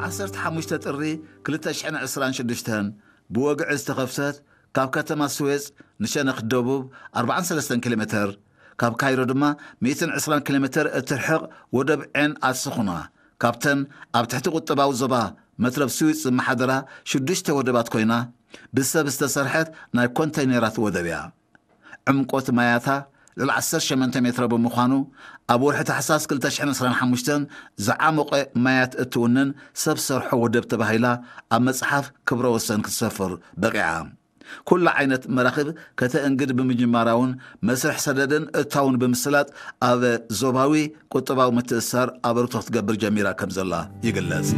ዓሰርተ ሓሙሽተ ጥሪ ክልተ ሽሕን ዕስራን ሽዱሽተን ብወግዒ ዝተኸፍተት ካብ ከተማ ስዌጽ ንሸነኽ ደቡብ ኣርባዓን ሰለስተን ኪሎ ሜተር፣ ካብ ካይሮ ድማ ሚእትን ዕስራን ኪሎ ሜተር እትርሕቕ ወደብ ዔን ኣስኹና፣ ካብተን ኣብ ትሕቲ ቁጠባዊ ዞባ መትረብ ስዊጽ ዝመሓደራ ሽዱሽተ ወደባት ኮይና፣ ብሰብ ዝተሰርሐት ናይ ኮንተይነራት ወደብ እያ። ዕምቆት ማያታ ልዕሊ ዓሰርተ ሸሞንተ ሜትሮ ብምዃኑ፣ ኣብ ወርሒ ታሕሳስ ክልተ ሽሕን ዕስራን ሓሙሽተን ዝዓሞቐ ማያት እትውንን ሰብ ሰርሖ ወደብ ተባሂላ ኣብ መጽሓፍ ክብረ ወሰን ክትሰፍር በቒዓ። ኩሉ ዓይነት መራኽብ ከተእንግድ ብምጅማራ እውን፣ መስርሕ ሰደድን እታውን ብምስላጥ ኣብ ዞባዊ ቁጠባዊ ምትእስሳር ኣበርክቶ ክትገብር ጀሚራ ከም ዘላ ይግለጽ።